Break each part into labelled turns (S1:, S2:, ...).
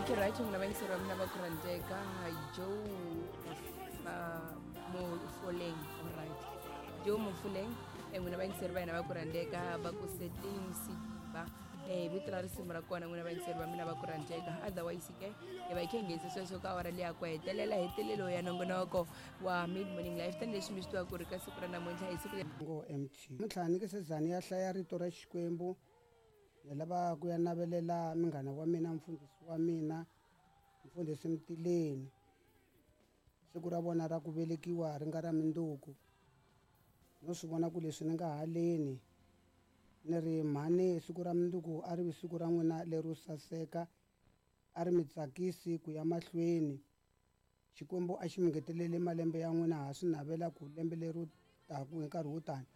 S1: Okay, right, n'wina vayingiseri va mina va ku rhandzeka Joe Mofoleng. Alright, Joe Mofoleng, n'wina vayingiseri va hina va ku rhandzeka va ku Setleng Sediba, vito ra risimu ra kona, n'wina vayingiseri va mina va ku rhandzeka. Otherwise ke hi va hi khe hi nghenise sweswo ka awara leyi ya ku hetelela hetelelo ya nongonoko wa Mid Morning Life, tanihileswi mi swi tiva ku ri ka siku ra namuntlha hi siku
S2: Ngo mt namuntlha ni nge se za ni ya hlaya rito ra Xikwembu. Ni lava ku ya navelela munghana wa mina, mfundhisi wa mina, mfundhisi Mtileni, siku ra vona ra ku velekiwa ri nga ra minduku. No swi vona ku leswi ni nga haleni ni ri mhani, siku ra minduku a ri vi siku ra n'wina lero saseka, a ri mi tsakisi ku ya mahlweni. Xikwembu a xi mi ngetelele malembe ya n'wina. Ha swi navela ku lembe leri taku hi nkarhi wo tani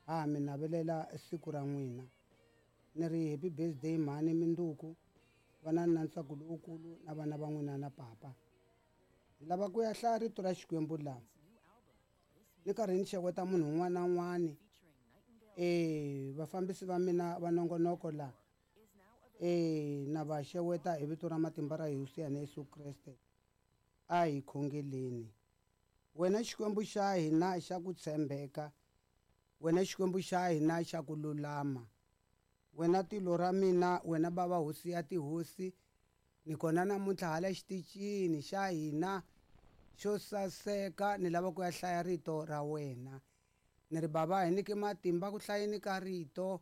S2: ha mi navelela siku ra n'wina. Ni ri happy birthday mhani, minduku vanani na ntsako lowukulu na vana va n'wina na papa. Ni lava ku ya hlaya rito ra Xikwembu laha ni karhi ni xeweta munhu un'wana na un'wana, vafambisi va mina va nongonoko laha, na va xeweta hi vito ra matimba ra Hosi ya hina Yesu Kreste. A hi khongeleni. Wena Xikwembu xa hina xa ku tshembeka, wena Xikwembu xa hina xa ku lulama, wena tilo ra mina, wena bava hosi ya tihosi, ni kona namuntlha hala xitichini xa hina xo saseka, ni lava ku ya hlaya rito ra wena. Ni ri bava, hi nyike matimba ku hlayeni ka rito.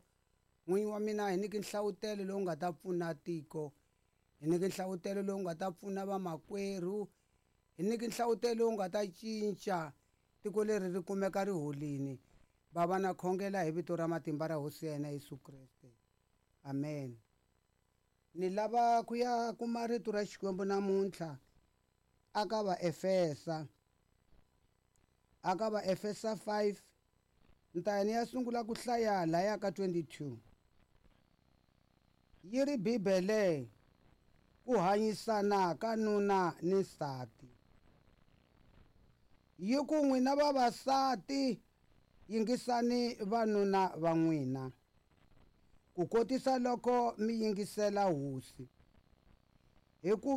S2: N'winyi wa mina, hi nyike nhlavutelo lowu nga ta pfuna tiko, hi nyike nhlavutelo lowu nga ta pfuna vamakwerhu, hi nyike nhlavutelo lowu nga ta cinca tiko leri ri kumeka ri holini. Bava, na khongela hi vito ra matimba ra Hosi ya hina Yesu Kreste, amen. Ni lava ku ya kuma rito ra Xikwembu namuntlha aka Vaefesa, aka Vaefesa 5, ni ta ya ni ya sungula ku hlaya laya ka 22. Yi ri Bibele ku hanyisana ka nuna ni nsati. Yi ku n'wina vavasati, yingisani vanuna va n'wina ku kotisa loko mi yingisela Hosi, hikuva